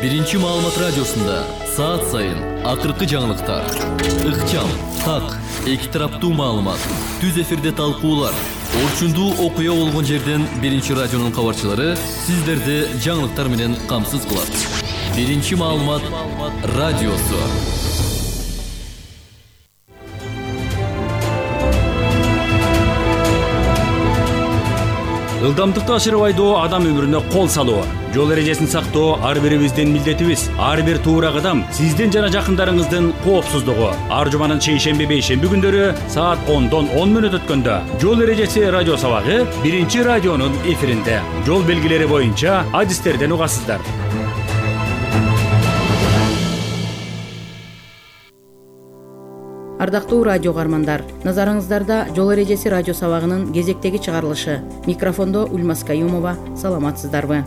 Биринчи маалымат радиосунда саат сайын акыркы жаңылыктар, ыкчам, так, эки тараптуу маалымат, түз эфирде талкуулар, орчундуу окуя болгон жерден Биринчи радионун кабарчылары сиздерди жаңылыктар менен камсыз кылат. Биринчи маалымат радиосу. Ылдамдыкты ашырып айдоо адам өмүрүнө кол салуу. Жол эрежесин сактоо ар бирибиздин милдетибиз. Ар бир туура кадам сиздин жана жакындарыңыздын коопсуздугу. Ар жуманын шейшемби бейшемби күндөрү саат 10-дон 10 мүнөт өткөндө жол эрежеси радио сабагы Биринчи радионун эфиринде. Жол белгилери боюнча адистерден угасыздар. Ардактуу радио каармандар, назарыңыздарда жол эрежеси радио сабагынын кезектеги чыгарылышы. Микрофондо Ульмас Каюмова. Саламатсыздарбы?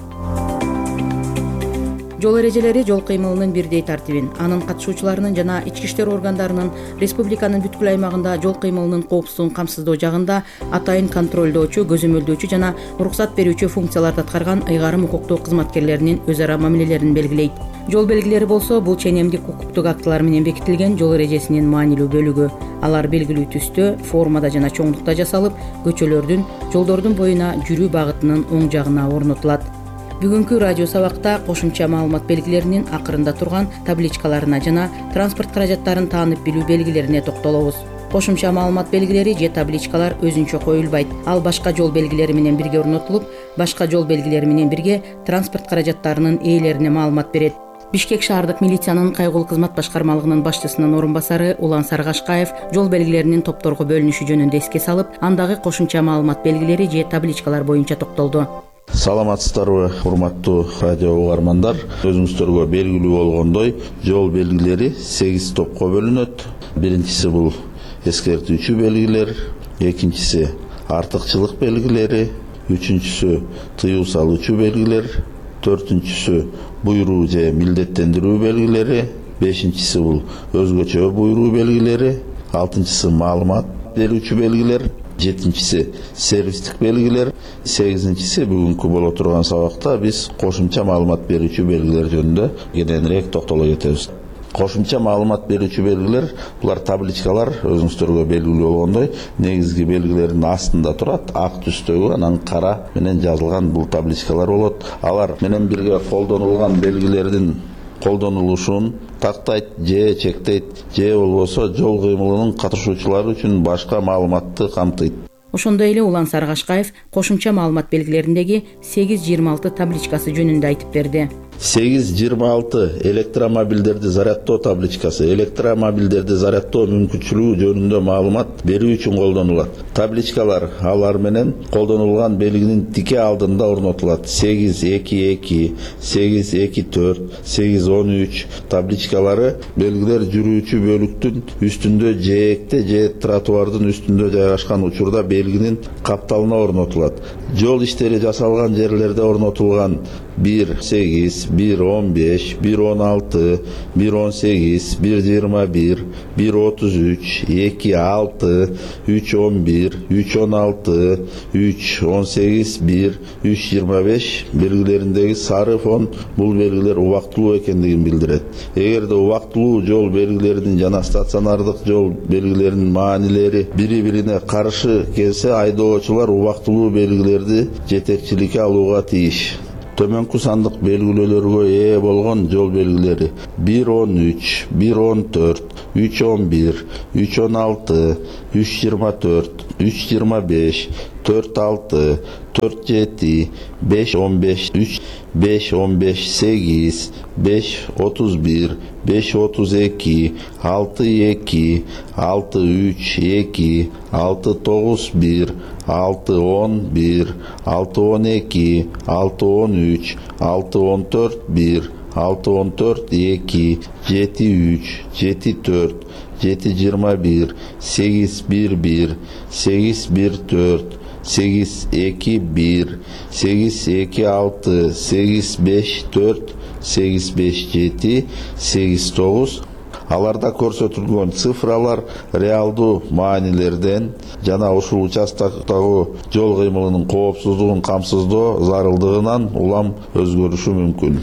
Жол эрежелери жол кыймылынын бирдей тартибин, анын катышуучуларынын жана ички иштер органдарынын республиканын бүткүл аймагында жол кыймылынын коопсуздугун камсыздоо жагында атайын контролдоочу, көзөмөлдөөчү жана уруксат берүүчү функцияларды аткарган ыйгарым укуктуу кызматкерлеринин өз ара мамилелерин белгилейт. Жол белгилери болсо бул ченемдик укуктук актылар менен бекитилген жол эрежесинин маанилүү бөлүгү. Алар белгилүү түстө, формада жана чоңдукта жасалып, көчөлөрдүн, жолдордун боюна жүрүү багытынын оң жагына орнотулат. Бүгүнкү радио сабакта кошумча маалымат белгилеринин акырында турган табличкаларына жана транспорт каражаттарын таанып билүү белгилерине токтолобуз. Кошумча маалымат белгилери же табличкалар өзүнчө коюлбайт. Ал башка жол белгилери менен бирге орнотулуп, башка жол белгилери менен бирге транспорт каражаттарынын ээлерине маалымат берет. Бишкек шаардык милициянын кайгылуу кызмат башкармалыгынын башчысынын орун басары Улан Саргашкаев жол белгилеринин топторго бөлүнүшү жөнүндө эске салып, андагы кошумча маалымат белгилери же табличкалар боюнча токтолду. Саламатсыздарбы, урматтуу радио угармандар. Өзүңүздөргө белгилүү болгондой, жол белгилери 8 топко бөлүнөт. Биринчиси бул эскертүүчү белгилер, экинчиси артыкчылык белгилери, үчүнчүсү тыюу салуучу белгилер, төртүнчүсү буйруу же милдеттендирүү белгилери, бешинчиси бул өзгөчө буйруу белгилери, алтынчысы маалымат берүүчү белгилер, жетинчиси сервистик белгилер, сегизинчиси бүгүнкү боло турган сабакта биз кошумча маалымат берүүчү белгилер жөнүндө кененирээк токтоло кетебиз. Кошумча маалымат берүүчү белгилер булар табличкалар өзүңүздөргө белгилүү болгондой негизги белгилердин астында турат, ак түстөгү, анан кара менен жазылган бул табличкалар болот. Алар менен бирге колдонулган белгилердин колдонулушун тактайт же чектейт, же болбосо жол кыймылынын катышуучулары үчүн башка маалыматты камтыйт. Ошондой эле Улан Саргашкаев кошумча маалымат белгилериндеги 826 табличкасы жөнүндө айтып берди. 826 электромобилдерди зарядтоо табличкасы электромобилдерди зарядтоо мүмкүнчүлүгү жөнүндө маалымат берүү үчүн колдонулат. Табличкалар алар менен колдонулган белгинин тике алдында орнотулат. 822, 824, 813 табличкалары белгилер жүрүүчү бөлүктүн үстүндө жээкте же тротуардын үстүндө жайгашкан учурда белгинин капталына орнотулат. Жол иштери жасалган жерлерде орнотулган 1.8, 1.15, 1.16, 1.18, 1.21, 1.33, 2.6, 3.11, 3.16, 3.18, 1, 3.25 белгилериндеги сары фон бул белгилер убактылуу экендигин билдирет. Эгерде убактылуу жол белгилеринин жана стационардык жол белгилеринин маанилери бири-бирине каршы келсе, айдоочулар убактылуу белгилерди жетекчиликке алууга тийиш. Төмөнкү сандык белгилөөлөргө ээ болгон жол белгилери 1.13, 1.14, 3.11, 3.16, 3.24, 3.25, 4.6, 4.7, 5.15, 5.15, 8, 5.31, 5.32, 6.2, 6.3, 2, 6.91, 6.11, 6.12, 6.13, 6.14, 1, 6.14, 2, 7.3, 7.4, 7.21, 8.11, 8.14, 8.21, 8.26, 8.54, 8.57, 8.9 Аларда көрсөтүлгөн цифралар реалдуу маанилерден жана ушул участоктогу жол кыймылынын коопсуздугун камсыздоо зарылдыгынан улам өзгөрүшү мүмкүн.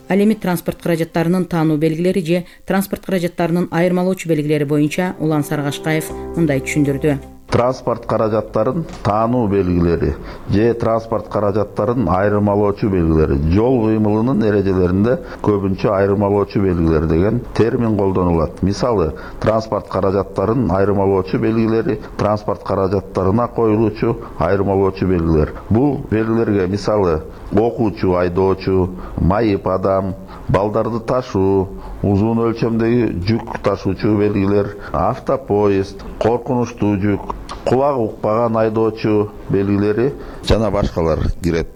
Ал эми транспорт каражаттарынын таануу белгилери же транспорт каражаттарынын айырмалоочу белгилери боюнча Улан Сарыгашкаев мындай түшүндүрдү. Транспорт каражаттарын таануу белгилери же транспорт каражаттарын айырмалоочу белгилери жол кыймылынын эрежелеринде көбүнчө айырмалоочу белгилер деген термин колдонулат. Мисалы, транспорт каражаттарын айырмалоочу белгилери транспорт каражаттарына коюлуучу айырмалоочу белгилер. Бул белгилерге мисалы окуучу айдоочу, майып адам, балдарды ташуу, узун өлчөмдөгү жүк ташуучу белгилер, автопоезд, коркунучтуу жүк, кулагы укпаган айдоочу белгилери жана башкалар кирет.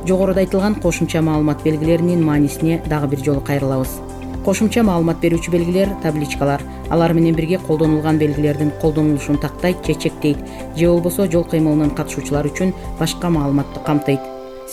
Жогоруда айтылган кошумча маалымат белгилеринин маанисине дагы бир жолу кайрылабыз. Кошумча маалымат берүүчү белгилер табличкалар. Алар менен бирге колдонулган белгилердин колдонулушун тактайт же чектейт, же болбосо жол кыймылынын катышуучулары үчүн башка маалыматты камтыйт.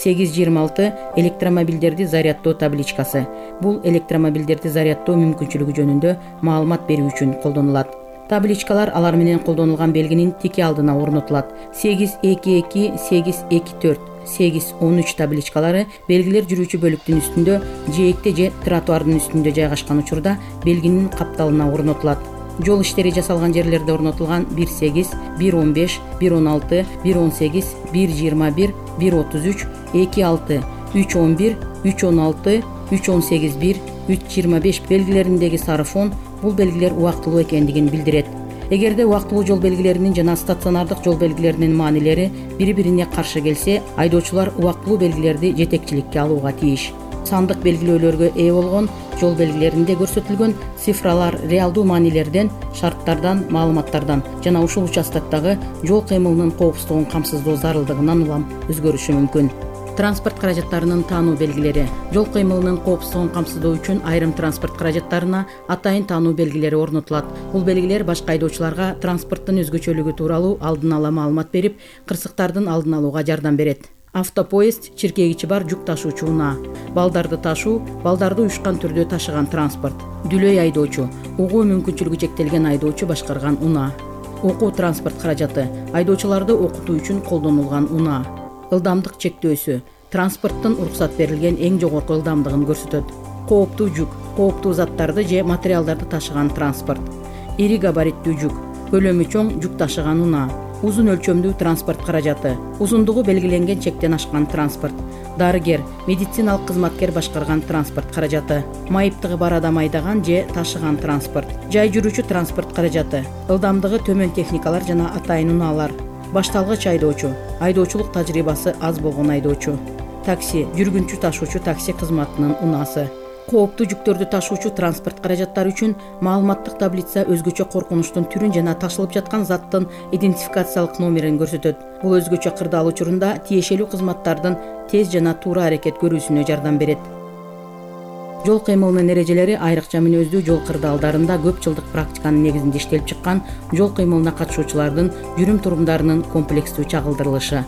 826 электромобилдерди заряддоо табличкасы. Бул электромобилдерди заряддоо мүмкүнчүлүгү жөнүндө маалымат берүү үчүн колдонулат. Табличкалар алар менен колдонулган белгинин тики алдына орнотулат. 822, 824, 813 табличкалары белгилер жүрүүчү бөлүктүн үстүндө, жээкте же тротуардын үстүндө жайгашкан учурда белгинин капталына орнотулат. Жол иштери жасалган жерлерде орнотулган 18, 115, 116, 118, 121, 133, 26, 311, 316, 318, 1, 325 белгилериндеги сары фон бул белгилер убактылуу экендигин билдирет. Эгерде убактылуу жол белгилеринин жана стационардык жол белгилеринин маанилери бири-бирине каршы келсе, айдоочулар убактылуу белгилерди жетекчиликке алууга тийиш. Сандык белгилөөлөргө ээ болгон жол белгилеринде көрсөтүлгөн цифралар реалдуу маанилерден, шарттардан, маалыматтардан жана ушул участоктогу жол кыймылынын коопсуздугун камсыздоо зарылдыгынан улам өзгөрүшү мүмкүн. Транспорт каражаттарынын таануу белгилери. Жол кыймылынын коопсуздугун камсыздоо үчүн айрым транспорт каражаттарына атайын таануу белгилери орнотулат. Бул белгилер башка айдоочуларга транспорттун өзгөчөлүгү тууралуу алдын ала маалымат берип, кырсыктардын алдын алууга жардам берет. Автопоезд чиркегичи бар жүк ташуучу унаа. Балдарды ташуу, балдарды уюшкан түрдө ташыган транспорт. Дүлөй айдоочу, угуу мүмкүнчүлүгү чектелген айдоочу башкарган унаа. Окуу транспорт каражаты, айдоочуларды окутуу үчүн колдонулган унаа. Ылдамдык чектөөсү, транспорттун уруксат берилген эң жогорку ылдамдыгын көрсөтөт. Кооптуу жүк, кооптуу заттарды же материалдарды ташыган транспорт. Ири габариттүү жүк, көлөмү чоң жүк ташыган унаа. Узун өлчөмдүү транспорт каражаты, узундугу белгиленген чектен ашкан транспорт. Дарыгер, медициналык кызматкер башкарган транспорт каражаты. Майыптыгы бар адам айдаган же ташыган транспорт. Жай жүрүүчү транспорт каражаты, ылдамдыгы төмөн техникалар жана атайын унаалар. Башталгыч айдоочу, айдоочулук тажрыйбасы аз болгон айдоочу. Такси, жүргүнчү ташуучу такси кызматынын унаасы. Кооптуу жүктөрдү ташуучу транспорт каражаттары үчүн маалыматтык таблица өзгөчө коркунучтун түрүн жана ташылып жаткан заттын идентификациялык номерин көрсөтөт. Бул өзгөчө кырдаал учурунда тиешелүү кызматтардын тез жана туура аракет көрүүсүнө жардам берет. Жол кыймылынын эрежелери айрыкча мүнөздүү жол кырдаалдарында көп жылдык практиканын негизинде иштелип чыккан жол кыймылына катышуучулардын жүрүм-турумдарынын комплекстүү чагылдырылышы.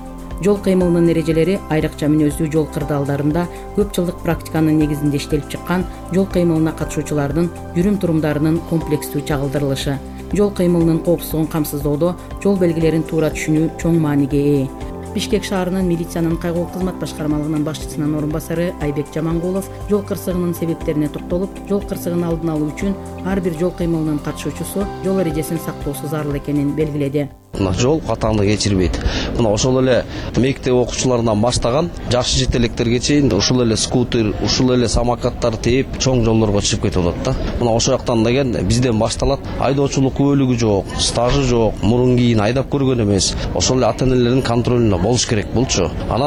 Жол кыймылынын эрежелери айрыкча мүнөздүү жол кырдаалдарында көп жылдык практиканын негизинде иштелип чыккан жол кыймылына катышуучулардын жүрүм-турумдарынын комплекстүү чагылдырылышы. Жол кыймылынын коопсуздугун камсыздоодо жол белгилерин туура түшүнүү чоң мааниге ээ. Бишкек шаарынын милициянын кайгылуу кызмат башкармалыгынын башчысынын орун басары Айбек Жамангулов жол кырсыгынын себептерине токтолуп, жол кырсыгын алдын алуу үчүн ар бир жол кыймылынын катышуучусу жол эрежесин сактоосу зарыл экенин белгиледи. Жол катаңды кечирбейт. Мына ошол эле мектеп окуучуларынан баштаган жакшы жетелектерге чейин ушул эле скутер, ушул эле самокаттар тээп чоң жолдорго чыгып кетип атат да. Мына ошол жактан деген бизден башталат. Айдоочулук күбөлүгү жок, стажы жок, мурун кийин айдап көргөн эмес. Ошол эле ата-энелердин контролунда болуш керек булчу. Анан